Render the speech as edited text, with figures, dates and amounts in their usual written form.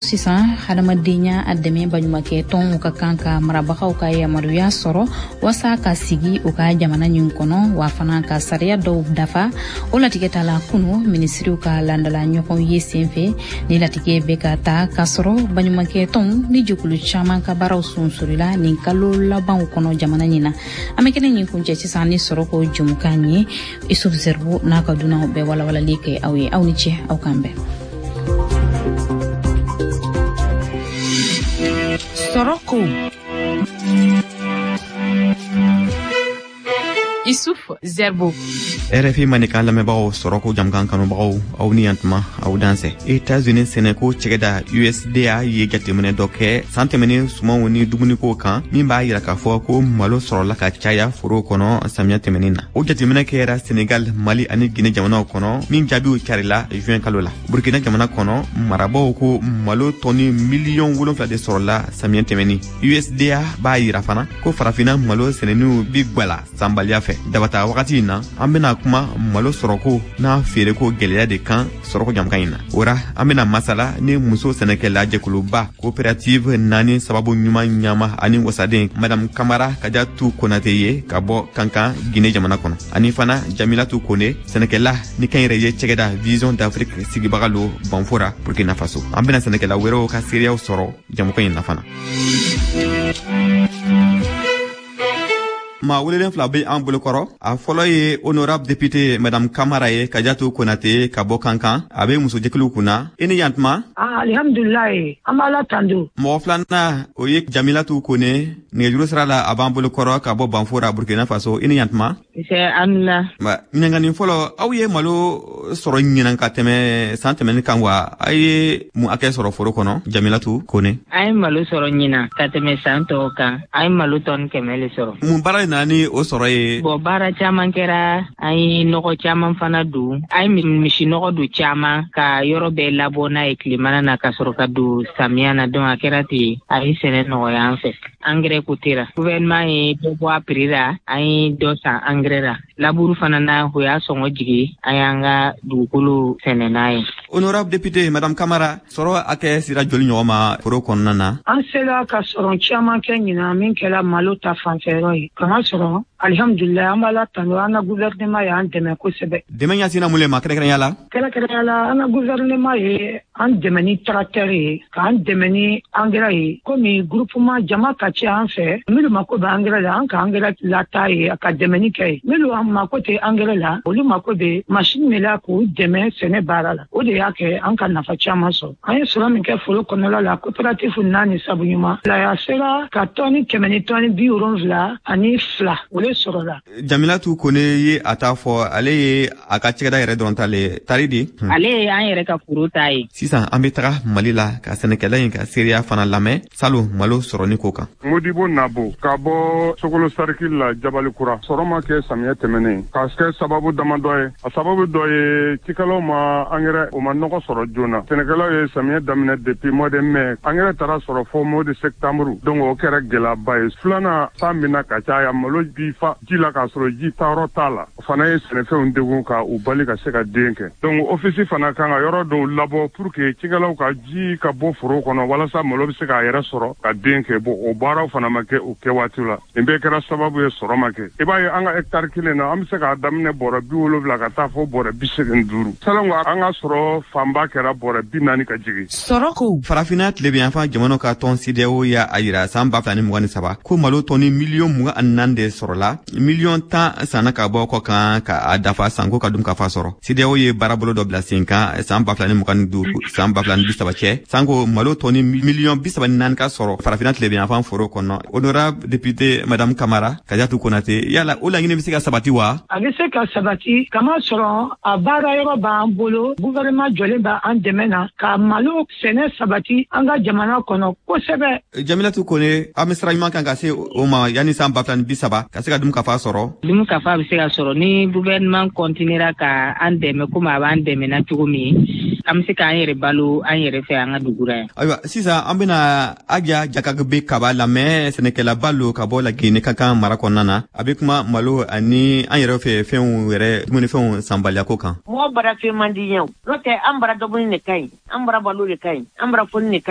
Sisan, hadamadenya a dɛmɛ baɲumakɛ tɔnw ka kan ka marabagaw ka yamaruya sɔrɔ waasa ka sigi u ka jamana ɲin kɔnɔ, wa fana ka sariya dɔw dafa. O latigɛ ta la kunu minisiriw ka landala ɲɔgɔn ye senfɛ. Ni latigɛ bɛ ka ta k'a sɔrɔ baɲumakɛ tɔnw ni jɛkulu caman ka baaraw sunsurila nin kalo labanw kɔnɔ jamana ɲin na. An bɛ kɛnɛ ɲin kuncɛ sisan ni sɔrɔko jɛmukan ye. Isuf Zerbo n'a ka dunanw bɛɛ walawalali kɛ aw ye. Aw ni ce, aw k'an bɛn. Sɔrɔko Isuf Zerbo. RFI Mandenkan lamɛnbagaw, sɔrɔko jamukan kanubagaw, aw ni yantuma, aw dansɛ. Etats-Unis sɛnɛko cɛgɛda USDA ye jateminɛ dɔ kɛ san tɛmɛnen sumanw ni dumunikow kan, min b'a yira k'a fɔ ko malo sɔrɔla ka caya forow kɔnɔ samiya tɛmɛnen na. O jateminɛ kɛra Senegal, Mali ani Guinée jamanaw kɔnɔ, min jaabiw carila juin kalo la. Burkina jamana kɔnɔ, marabaw ko malo tɔni 7 miliyɔn de sɔrɔla samiya tɛmɛnin. USDA b'a yira fana ko Farafina malo sɛnɛniw bi gwala sanbaliya fɛ. Dabata wagati in na, an bena kuma malo sɔrɔko n'a feereko gwɛlɛya de kan sɔrɔko jamukan in na. O ra, an bena masala ni muso sɛnɛkɛla jɛkuluba coopérative naani sababu ɲuman ɲama ani wasaden Madame Kamara Kajatu Konate ye ka bɔ Kankan, Guinée jamana kɔnɔ, ani fana Jamilatu Kone, sɛnɛkɛla ni kɛnyɛrɛye cɛgɛda Vision d'Afrique sigibaga lo Banfora, Burkina Faso. An bena sɛnɛkɛla wɛrɛw ka seereyaw sɔrɔ jamukan in na fana. Maa welelen fila bɛ an bolokɔrɔ. A fɔlɔ ye honorable député Madame Kamara ye, Kajatu Konate, ka bɔ Kankan. A bɛ musojɛkuluw kunna. I ni yantuma. Alihamdulilayi, an b'Ala tando. Mɔgɔ filanan, o ye Jamilatu Kone. Nɛgɛjuru sira la, a b'an bolokɔrɔ ka bɔ Banfora, Burkina Faso. I ni yantuma. Anula. Ɲininkali fɔlɔ, aw ye malo sɔrɔ ɲinan ka tɛmɛ san tɛmɛnin kan wa? A ye mun hakɛ sɔrɔ foro kɔnɔ, Jamilatu Kone? An ye malo sɔrɔ ɲinan ka tɛmɛ san tɔw kan. An ye malo tɔni 100 le sɔrɔ. Mun baara de nana ni o sɔrɔ ye? Bɔn, baara caman kɛra. An ye nɔgɔ caman fana don. An ye misi nɔgɔ don caman ka yɔrɔ bɛɛ labɔ n'a ye tilemana na, ka sɔrɔ ka don samiya na. Donc a kɛra ten, a ye sɛnɛ nɔgɔya an fɛ. Engrais ko tera, gouvernement ye dɔ bɔ a prix la, an ye dɔ san engrais la. Labour fana na, o y'a sɔngɔ jigi, an y'an ka dugukolo sɛnɛ n'a ye. Honorable député Madame Kamara, sɔrɔ hakɛ sera joli ɲɔgɔn ma foro kɔnɔna na? An sera ka sɔrɔ caman kɛ ɲinan min kɛra malo ta fanfɛyɔrɔ ye. Kama sɔrɔ, alihamdulilayi, an b'Ala tando. An ka gouvernement y'an dɛmɛ kosɛbɛ. Dɛmɛ ɲɛsinna mun le ma kɛrɛnkɛrɛnya la? Kɛrɛnkɛrɛnya la, an ka gouvernement ye an dɛmɛ ni tracteur ye, k'an dɛmɛ ni engrais ye. Komi groupement jama ka ca an fɛ, minnu mako bɛ engrais la, an ka engrais lata ye ka dɛmɛni kɛ ye. Minnu mako tɛ engrais la, olu mako bɛ machine min la k'u dɛmɛ sɛnɛ baara la. O de y'a kɛ an ka nafa caman sɔrɔ. An ye sɔrɔ min kɛ foro kɔnɔla la, coopérative naani sabu ɲuman la, a sera ka tɔni 100 ni tɔni 72, o le sɔrɔla. Jamilatu Kone ye a ta fɔ, ale ye a ka cɛgɛda yɛrɛ dɔrɔn ta le tari di. Ale ye an yɛrɛ ka foro ta ye. Sisan, an bɛ taga Mali la ka sɛnɛkɛla in ka seereya fana lamɛn salon malo sɔrɔni ko kan. Modibo Nabo ka bɔ Sokolo sarikili la, Jabalikura. Sɔrɔ ma kɛ samiyɛ tɛmɛnen ka kɛ sababu damadɔ ye. A sababu dɔ ye, cikɛlaw ma angɛrɛ, o ma nɔgɔ sɔrɔ joona. Sɛnɛkɛlaw ye samiyɛ daminɛ depuis mois de mai, angɛrɛ taara sɔrɔ fɔ mois de septembre, donc o kɛra gɛlɛyaba ye. Filanan, san bɛna ka caya, malo bi fa ji la k'a sɔrɔ ji taayɔrɔ t'a la. O fana ye sɛnɛfɛnw degun ka u bali ka se ka den kɛ. Donc office fana kan ka yɔrɔ dɔw labɔ pour que cikɛlaw ka ji ka bɔ foro kɔnɔ, walasa malo bɛ se k'a yɛrɛ sɔrɔ ka den kɛ. Bon, o baaraw fana ma kɛ o kɛ waati la. Nin bɛɛ kɛra sababu ye sɔrɔ ma kɛ. I b'a ye, an ka hectare kelen na, an bɛ se k'a daminɛ bɔrɛ 70 ka taa fɔ bɔrɛ 85. Salon, an ka sɔrɔ fanba kɛra bɔrɛ 40 ka jigin. Sɔrɔ ko. Farafinna tilebiyanfan jamanaw ka tɔn CEDEAO y'a yira san 2023 ko malo tɔni 24 miliyɔn de sɔrɔla, 10 miliyɔn sanna ka bɔ kɔ kan ka a dafa sanko ka dun ka fa sɔrɔ. CEDEAO ye baarabolo dɔ bila sen kan san 2025, san 2030 cɛ, sanko malo tɔni 34 miliyɔn ka sɔrɔ Farafinna tilebiyanfan foro kɔnɔ. Honorable député Madame Kamara Kajatu Konate, yala o laɲini bɛ se ka sabati wa? A bɛ se ka sabati, kama sɔrɔ a baara yɔrɔ b'an bolo. Gouvernement jɔlen b'an dɛmɛ na ka malo sɛnɛ sabati an ka jamana kɔnɔ kosɛbɛ. Jamilatu Kone, an bɛ sira ɲuman kan ka se o ma yanni san 2030, ka se ka dun ka fa sɔrɔ? Dumu ka fa bɛ se ka sɔrɔ ni gouvernement continuera ka an dɛmɛ komi a b'an dɛmɛ na cogo min. An bɛ se k'an yɛrɛ balo an yɛrɛ fɛ an ka dugu ra yan. Ayiwa, sisan an bɛna Aja Jakagbe Kaba lamɛn, sɛnɛkɛlaba lo ka bɔ Lagine Kankan mara kɔnɔna na. A bɛ kuma malo ani an yɛrɛ fɛ fɛnw yɛrɛ, dumunifɛnw sanbaliyako kan. Mɔgɔ bara fɛn man di ɲɛ, n'o tɛ an bara dumuni de ka ɲi, an bara balo de ka ɲi, an bara foni de ka ɲi.